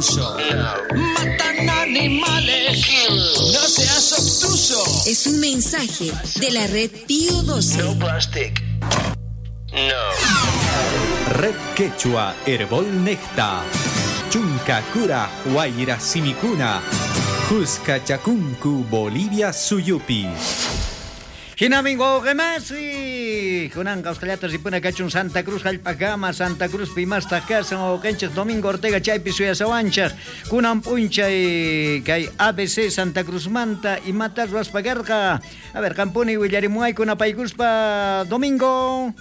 uso. Matan animales. No seas obtuso. Es un mensaje de la red Pío 12. No plastic. No. Red Quechua Herbol Necta. Chunka Kura Huayra Simikuna. Juska Chakunku Bolivia Suyupi. Hinamin wawqimasi, kunanqa usqhayllata ripuna kachun Santa Cruz hallp'akama, Santa Cruz pimastaq kasan wawqinchik Domingo Ortega chaypi suyasawanchik. Kunan p'unchay kay ABC Santa Cruzmanta imata ruwaspa karqa. A ver, qampuni willarimuwayku napaykuspa, Domingo.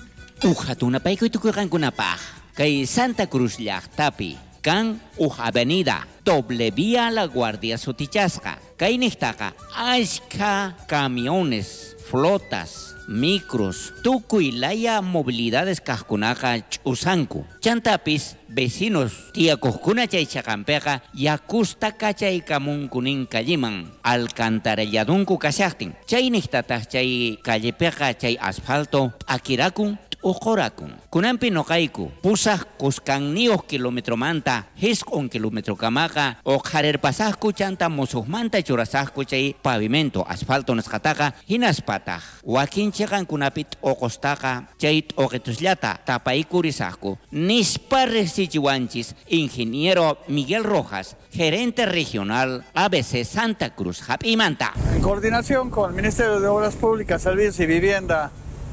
Uj hatun napaykuy tukurqankunapaq kay Santa Cruz llaqtapi kan uj avenida doble vía La Guardia sutichasqa. Kay niqtaqa ashkha camiones, flotas, micros, tukuy laya movilidades kaqkunaqa ch'usanku. Chantapis vecinos tiyakuqkuna chay chaqanpiqa yakusta kachaykamunkunin calleman alcantarilladunku kashaqtin. Chay niqtataq chay callepiqa chay asfalto p'akirakun t'uqurakun. Kunanpi noqayku pusaq kuskanniuq kilometromanta jisq'un kilometrokamaqa uqharirpasaqku chanta musuqmanta churasaqku chay pavimento asfalto nisqataqa hinaspataq wakin chiqankunapi t'uqustaqa chay t'uqitusllata tapaykurisaqku nispa riqsichiwanchis ingeniero Miguel Rojas, gerente regional ABC Santa Cruz hap'imanta. En coordinación con el Ministerio de Obras Públicas, Servicios y Vivienda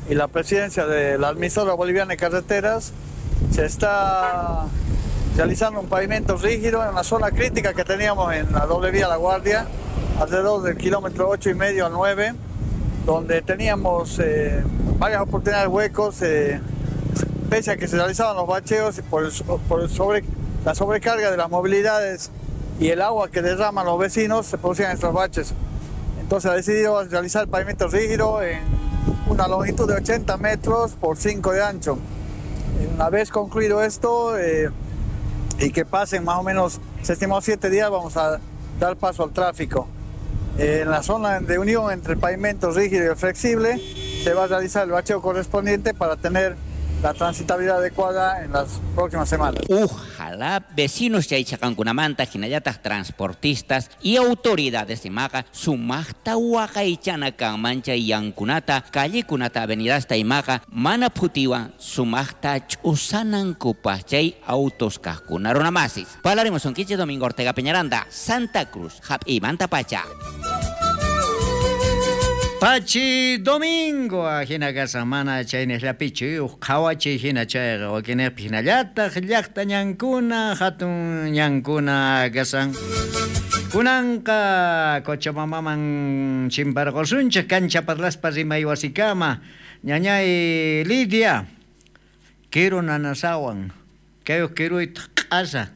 y la presidencia de la Administradora Boliviana de Carreteras, se está realizando un pavimento rígido en una zona crítica que teníamos en la doble vía La Guardia, alrededor del kilómetro 8,5 al 9, donde teníamos varias oportunidades huecos, pese a que se realizaban los bacheos por la sobrecarga de las movilidades y el agua que derraman los vecinos, se producían estos baches. Entonces ha decidido realizar el pavimento rígido en una longitud de 80 metros por 5 de ancho. Una vez concluido esto y que pasen más o menos, se estimó 7 días, vamos a dar paso al tráfico. En la zona de unión entre el pavimento rígido y el flexible se va a realizar el bacheo correspondiente para tener la transitabilidad adecuada en las próximas semanas. Ojalá vecinos chay chaqankunamanta hinallataq transportistas y autoridades imaqa sumaqta waqaychana kanman chay yankunata, callekunata, avenidasta imaqa mana phutiwan sumaqta ch'usanankupaq chay autos kaqkuna runamasis. Palaremos sonquiche Domingo Ortega Peñaranda, Santa Cruz, hap'imanta pacha. Pachi Domingo, ajina kasa mana chayniqllapichu uj qhawachiy hina chayqa wakinniqpi hinallataq llaqta ñankuna hatun ñankuna kasan. Kunanqa Cochabambaman chimparqusunchik kancha parlaspa rimay wasikama. Ñañay Lidia, kiru nanasawan, kay uj kiruytaq q'asa.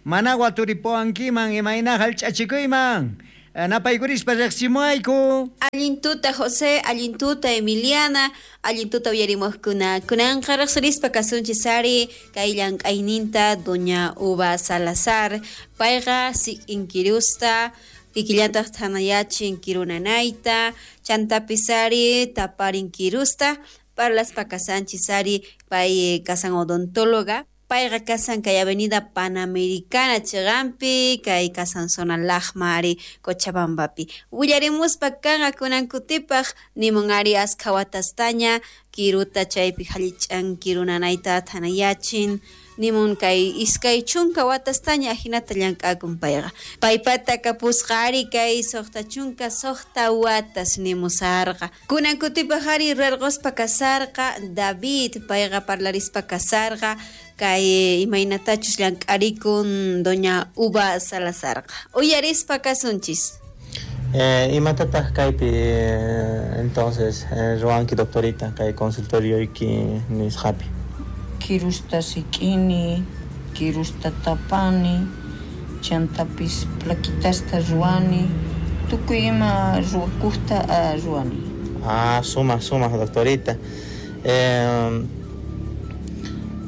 Mana waturipuwankiman imayna hallch'achikuyman. Napaykurispa riqsimuwayku. Allintuta José, allintuta Emiliana, allintuta uyarimuqkuna. Kunanqa riqsirispa kasunchis ari kay llank'ayninta doña Uva Salazar. Payqa sik'inkirusta, kikillantaq thanayachin kirunanayta, chantapis ari taparin kirusta, parlaspa kasanchis ari pay kasan odontóloga. Payqa kasan kay Avenida Panamericana chiqanpi, kay kasan zona Lajma ari Cochabambapi. Willarimuspa kanqa kunan kutipaq nimun ari askha watastaña kiruta chaypi hallich'an kirunanayta thanayachin. Nimun kay 20 watastaña ajinata llank'akun payqa. Paypata kapusqa ari kay 66 watas nimusarqa. Kunan kutipaq ari rarquspa kasarqa David, payqa parlarispa kasarqa kay imaynatachus llank'arikun doña Uva Salazarqa. Uyarispa kasunchis. Imatataq kaypi entonces ruwanki doctorita kay consultorioyki nisqapi? Kirusta sik'ini, kirusta tapani, chantapis plaquitasta ruwani, tukuy ima ruwakuqta ruwani. Ah, sumaq doctorita.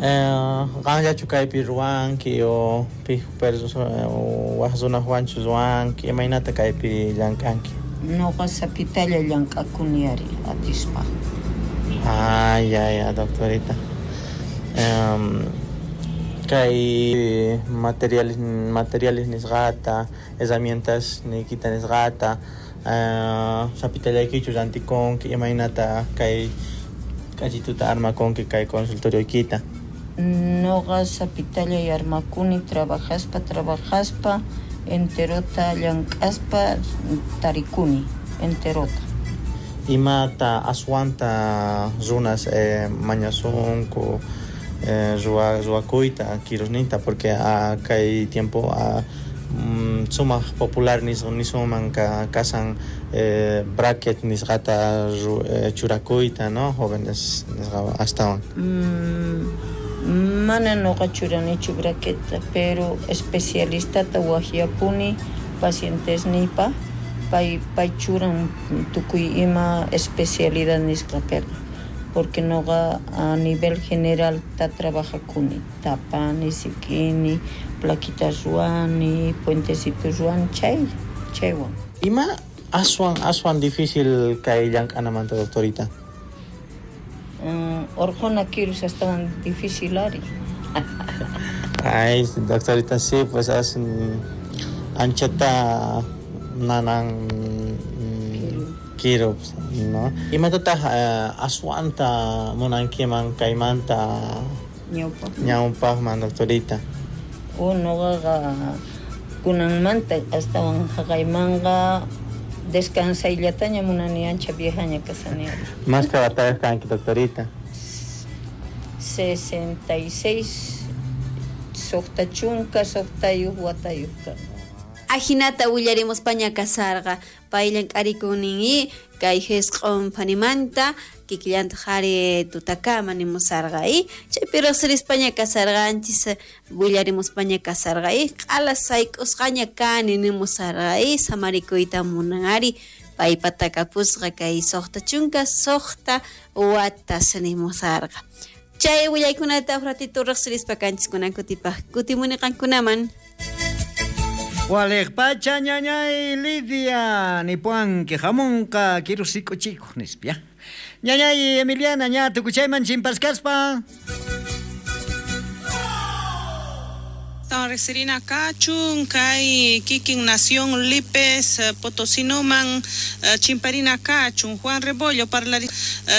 Qanllachu kaypi ruwanki o pij waj runaswanchu ruwanki, imaynata kaypi llank'anki? Noqa sapitalla llank'akuni ari atispa. Ah, ya, doctorita. Kay materiales nisqata, herramientas niykita nisqata, sapitallaykichu rantikunki, imaynata kay k'achituta armakunki kay consultorioykita? Noqa sapitallay armakuni trabajaspa enterota llank'aspa tarikuni enterota. Imata aswanta runas mañasunku ruwakuyta kirusninta, porque kay tiempo sumaq popular nisunman kasan bracket nisqata churakuyta, ¿no? Jóvenes nisqa astawan. Mana noqa churanichu braqueta, pero especialistata waqyapuni pacientesniypa, pay churan tukuy ima especialidad nisqapiqa, porque noqa a nivel general ta trabajakuni, tapani, sik'ini, plaquitas ruwani, puentecitos ruwani, chaywan. Ima aswan difícil kay llank'anamanta, doctorita? Orqhuna kirus astawan difícil ari. Ay, doctorita, sí, pues anchata nanan kiru, ¿no? Imatataq aswanta munankiman kaymanta ñawpaqman, doctorita? Noqaqa kunanmanta astawan haqaymanqa descansayllataña munani, ancha viejaña kasani. Más que batalla kanki, doctorita? 66, suqta chunka, suqtayuq watayuq kani. Ajinata willaremos paña kasarqa, pay llank'arikunin y kay jisq'on phanimanta kikillanta qhari tutakama nimusarqa y chaypi riqsirispaña kasarqanchis willarimuspaña kasarqa y q'ala sayk'usqaña kani nimusarqa y samarikuyta munan ari paypata kapusqa kay 66 watas nimusarqa. Chay willaykunata uj ratito riqsirispa kanchis kunan kutipaq kutimuni qankunaman. Waliq pacha ñañay Lidia nipuanki hamunqa kirusik'uchikuq nispa. Ñañay Emiliana ña tukuchayman chimpaskaspa. Riqsirina kachun kay kikin nación Lipes Potosinoman chimparina kachun Juan Rebollo parlari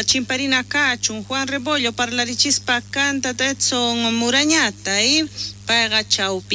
chimparina kachun Juan Rebollo parlarichispa kanta Edson Murañata y payqa chawpi.